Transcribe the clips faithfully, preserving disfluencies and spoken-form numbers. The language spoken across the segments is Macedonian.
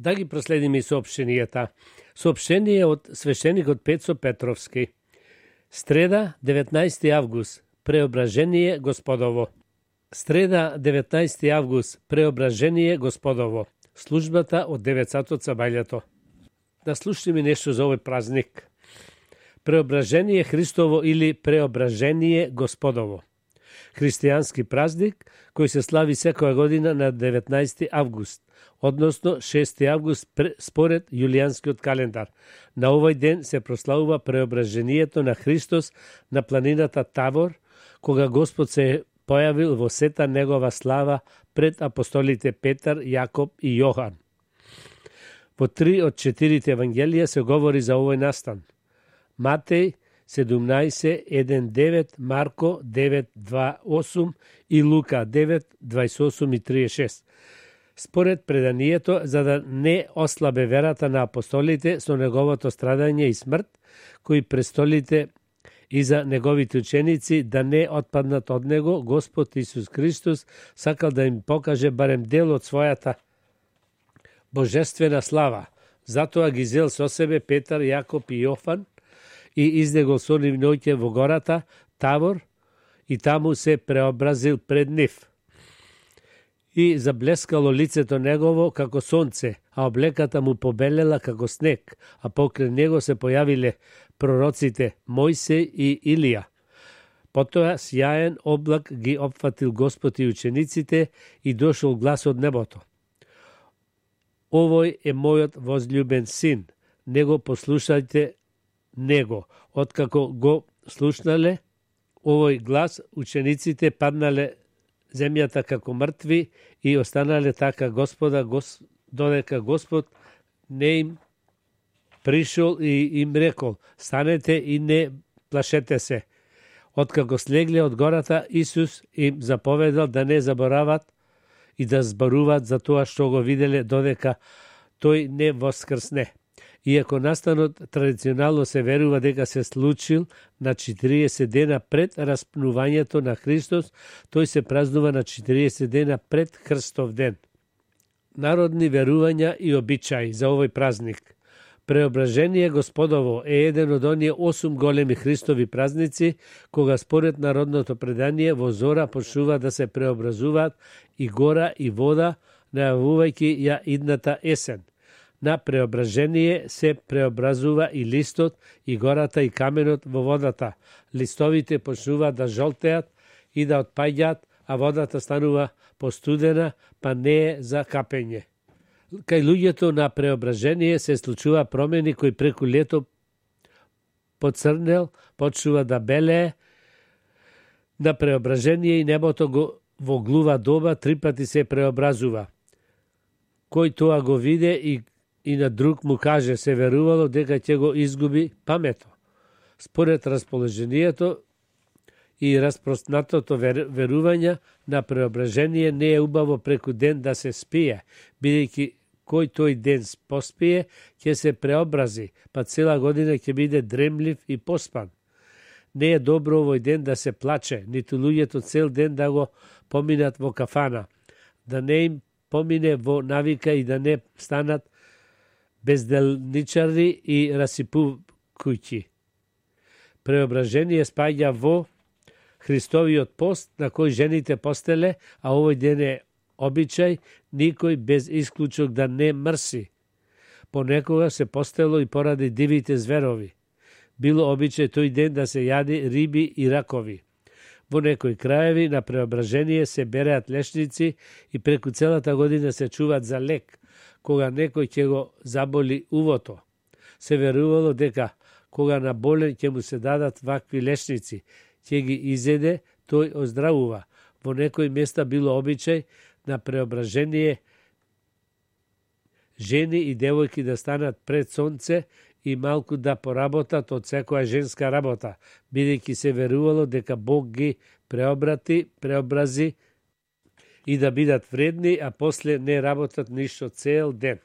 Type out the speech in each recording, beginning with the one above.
Да ги проследиме и соопштенијата. Соопштение од свештеникот Пецо Петровски. Среда, деветнаести август, Преображение Господово. Среда, деветнаести август, Преображение Господово. Службата од девет сатот сабајлето. Да слушаме нешто за овој празник. Преображение Христово или Преображение Господово. Христијански празник кој се слави секоја година на деветнаести август, односно шести август според јулијанскиот календар. На овој ден се прославува преображението на Христос на планината Тавор, кога Господ се појавил во сета негова слава пред апостолите Петар, Јакоб и Јохан. Во три од четирите евангелија се говори за овој настан. Матеј седумнаесет еден девет, Марко девет два осум и Лука девет дваесет осум и триесет и шест. Според преданието, за да не ослабе верата на апостолите со неговото страдање и смрт, кои престолите и за неговите ученици да не отпаднат од него, Господ Исус Христос сакал да им покаже барем дел од својата божествена слава. Затоа ги зел со себе Петар, Јакоб и Јофан и издегол со нив ноќе во гората Тавор и таму се преобразил пред нив. И заблескало лицето негово како сонце, а облеката му побелела како снег, а покрај него се појавиле пророците Мојсей и Илија. Потоа сјаен облак ги опфатил Господ и учениците и дошол глас од небото. Овој е мојот возљубен син, него послушајте него. Откако го слушнале овој глас, учениците паднале земјата како мртви и останале така Господа, гос, додека Господ не им пришол и им рекол: станете и не плашете се. Откако слегле од гората, Исус им заповедал да не заборават и да зборуваат за тоа што го виделе додека тој не воскрсне. Иако настанот традиционално се верува дека се случил на четириесет дена пред распнувањето на Христос, тој се празнува на четириесет дена пред Христов ден. Народни верувања и обичаи за овој празник. Преображение Господово е еден од оние осум големи Христови празници, кога според народното предание во зора почнува да се преобразуваат и гора и вода, најавувајќи ја идната есен. На преображение се преобразува и листот, и гората, и каменот во водата. Листовите почнуваат да жолтеат и да отпаѓаат, а водата станува постудена, па не е за капење. Кај луѓето на преображение се случува промени кои преку лето поцрнел, почнува да белее. На преображение и небото го во глува доба три пати се преобразува. Кој тоа го виде и и на друг му каже, се верувало дека ќе го изгуби памето. Според расположението и распростнатото верување на преображение не е убаво преку ден да се спие, бидејќи кој тој ден поспие, ќе се преобрази, па цела година ќе биде дремлив и поспан. Не е добро овој ден да се плаче, ниту луѓето цел ден да го поминат во кафана, да не им помине во навика и да не станат безделничари и расипувкујќи. Преображение спаѓа во Христовиот пост на кој жените постеле, а овој ден е обичај никој без исклучок да не мрси. Понекога се постело и поради дивите зверови. Било обичај тој ден да се јади риби и ракови. Во некои краеви на преображение се береат лешници и преку целата година се чуваат за лек, кога некој ќе го заболи увото. Се верувало дека кога на болен ќе му се дадат вакви лешници, ќе ги изеде, тој оздравува. Во некои места било обичај на преображение жени и девојки да станат пред сонце и малку да поработат од секоја женска работа, бидејќи се верувало дека Бог ги преобрати, преобрази и да бидат вредни, а после не работат ништо цел ден.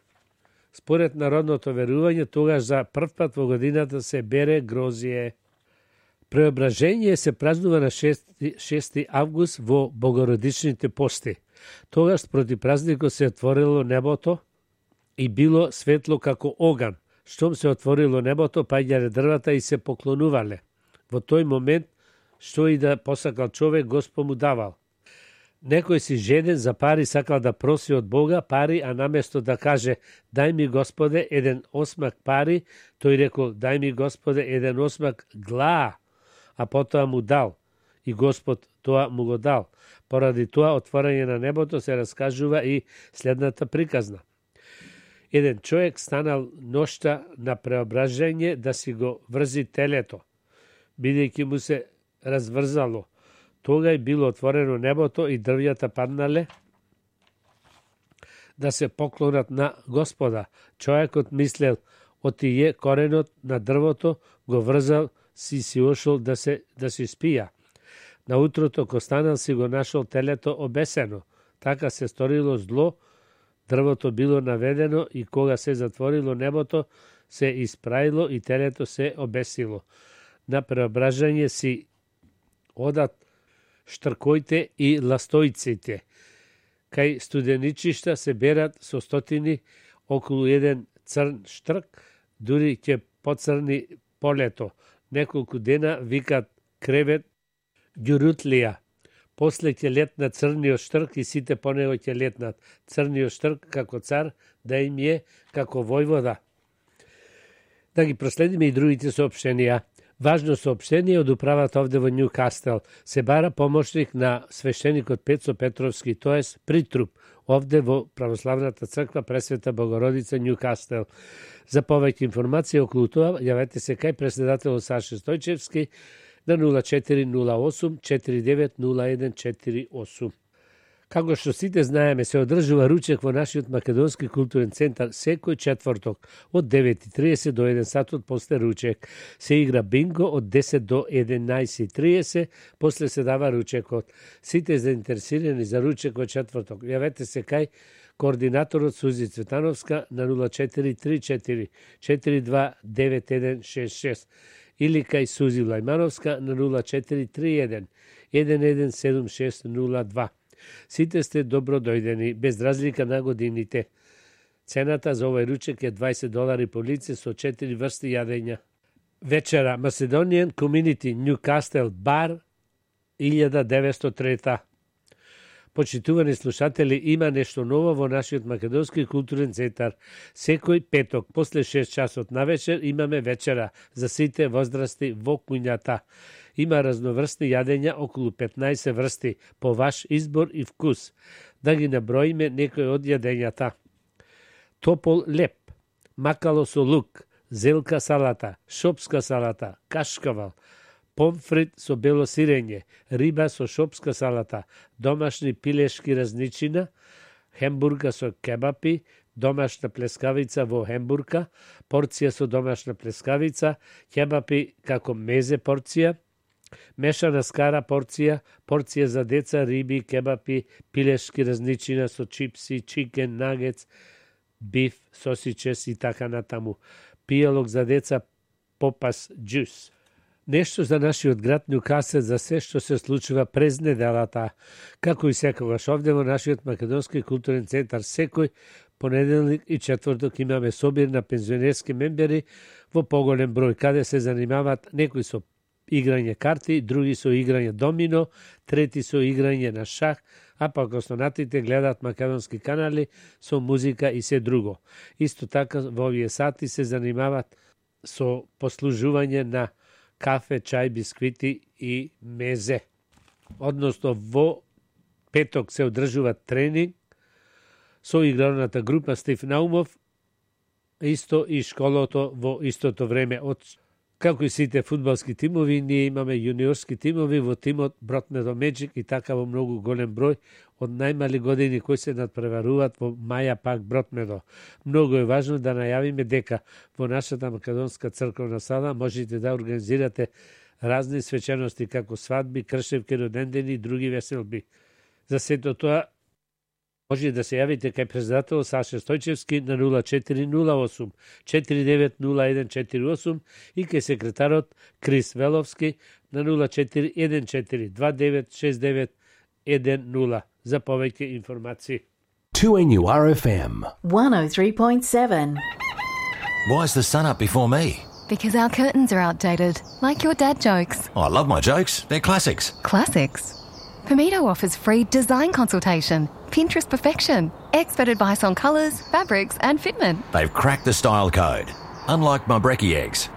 Според народното верување, тогаш за прв пат во годината се бере грозие. Преображение се празнува на шести август во богородичните пости. Тогаш спроти празникот се отворило небото и било светло како оган. Штом се отворило небото, паѓале дрвата и се поклонувале. Во тој момент, што и да посакал човек, Господ му давал. Некој си жеден за пари сакал да проси од Бога пари, а наместо да каже дај ми Господе еден осмак пари, тој рекол дај ми Господе еден осмак глаа, а потоа му дал. И Господ тоа му го дал. Поради тоа отворање на небото се раскажува и следната приказна. Еден човек станал ноќта на преображање да си го врзи телето, бидејќи му се разврзало. Тога е било отворено небото и дрвјата паднале да се поклонат на Господа. Човекот мислел, отие коренот на дрвото, го врзал, си си ошол да се да си спија. На утрото ко станал си го нашол телето обесено. Така се сторило зло, дрвото било наведено и кога се затворило небото, се испраило и телето се обесило. На преображање си одат штркоите и ластојците. Кај студеничишта се берат со стотини околу еден црн штрк, дури ќе поцрни полето. Неколку дена викат кревет ѓурутлија. После ќе летнат црниот штрк и сите по него ќе летнат. Црниот штрк како цар, да им е како војвода. Да ги проследиме и другите соопштенија. Важно соопштение од управата овде во Њукастел. Се бара помошник на свештеникот Пецо Петровски, тоест притруп, овде во Православната црква Пресвета Богородица Њукастел. За повеќе информации околу тоа, јавете се кај председателот Саше Стојчевски на нула четири нула осум четири девет нула еден четири осум. Како што сите знаеме, се одржува ручек во нашиот Македонски културен центар секој четврток од девет и триесет до еден сатот после ручек. Се игра бинго од десет до единаесет и триесет, после се дава ручекот. Сите заинтересирани за ручек во четврток, јавете се кај координаторот Сузи Цветановска на нула четири три четири четири два девет еден шест шест или кај Сузи Влајмановска на нула четири три еден еден еден седум шест нула два. Сите сте добро дојдени, без разлика на годините. Цената за овој ручек е дваесет долари по лице со четири врсти јадења. Вечера Macedonian Community Newcastle Bar илјада деветстотини и трета. Почитувани слушатели, има нешто ново во нашиот Македонски културен центар. Секој петок, после шест часот навечер, имаме вечера за сите возрасти во куњата. Има разноврстни јадења, околу петнаесет врсти, по ваш избор и вкус. Да ги наброиме некои од јадењата. Топол леп, макало со лук, зелка салата, шопска салата, кашкавал, помфрит со бело сирење, риба со шопска салата, домашни пилешки разничина, хембурга со кебапи, домашна плескавица во хембурга, порција со домашна плескавица, кебапи како мезе порција, мешана скара порција, порција за деца, риби, кебапи, пилешки разничина со чипси, чикен, нагец, биф, сосичес и така натаму. Пијалок за деца, попас, джус. Нешто за нашиот град Њукастел за се што се случува през неделата. Како и секогаш овде во нашиот Македонски културен центар, секој понеделник и четврток имаме собир на пензионерски мембери во поголем број, каде се занимаваат некои со играње карти, други со играње домино, трети со играње на шах, а пак останатите гледаат македонски канали со музика и се друго. Исто така во овие сати се занимаваат со послужување на кафе, чај, бисквити и мезе. Односно, во петок се одржува тренинг со игралната група Стив Наумов, исто и школото во истото време. Од како и сите фудбалски тимови, ние имаме јуниорски тимови во тимот Бротмедо Меджик и така во многу голем број од најмали години кои се надпреваруваат во Маја Пак Бротмедо. Многу е важно да најавиме дека во нашата Македонска црковна сала можете да организирате разни свечености како свадби, кршевки, родендени и други веселби. За сето тоа може да се јавите кај председател Саше Стојчевски на нула четири нула осум четири девет нула еден четири осум и кај секретарот Крис Веловски на нула четири еден четири два девет шест девет еден нула за повеќе информации. two N U R F M. one oh three point seven. Why's the sun up before me? Because our curtains are outdated, like your dad jokes. Oh, I love my jokes. They're classics. Classics. Pomito offers free design consultation, Pinterest perfection, expert advice on colours, fabrics and fitment. They've cracked the style code. Unlike my brekkie eggs.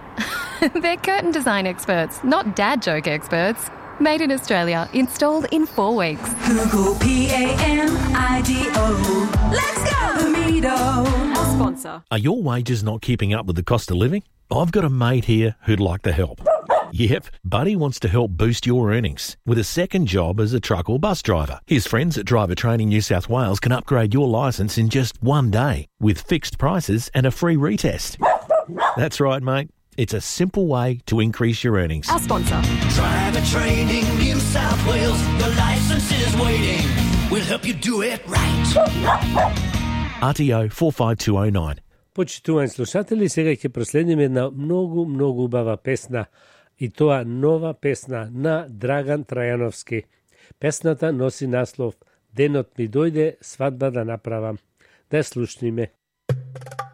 They're curtain design experts, not dad joke experts. Made in Australia, installed in four weeks. Google P A M I D O. Let's go! Pomito. Our sponsor. Are your wages not keeping up with the cost of living? I've got a mate here who'd like to help. Yep, Buddy wants to help boost your earnings with a second job as a truck or bus driver. His friends at Driver Training New South Wales can upgrade your licence in just one day with fixed prices and a free retest. That's right, mate. It's a simple way to increase your earnings. Our sponsor. Driver Training New South Wales. Your licence is waiting. We'll help you do it right. R T O four five two oh nine. Почитувани слушатели, сега ќе проследиме една многу, многу убава песна, и тоа нова песна на Драган Трајановски. Песната носи наслов "Денот ми дојде, свадба да направам". Да ја слушниме.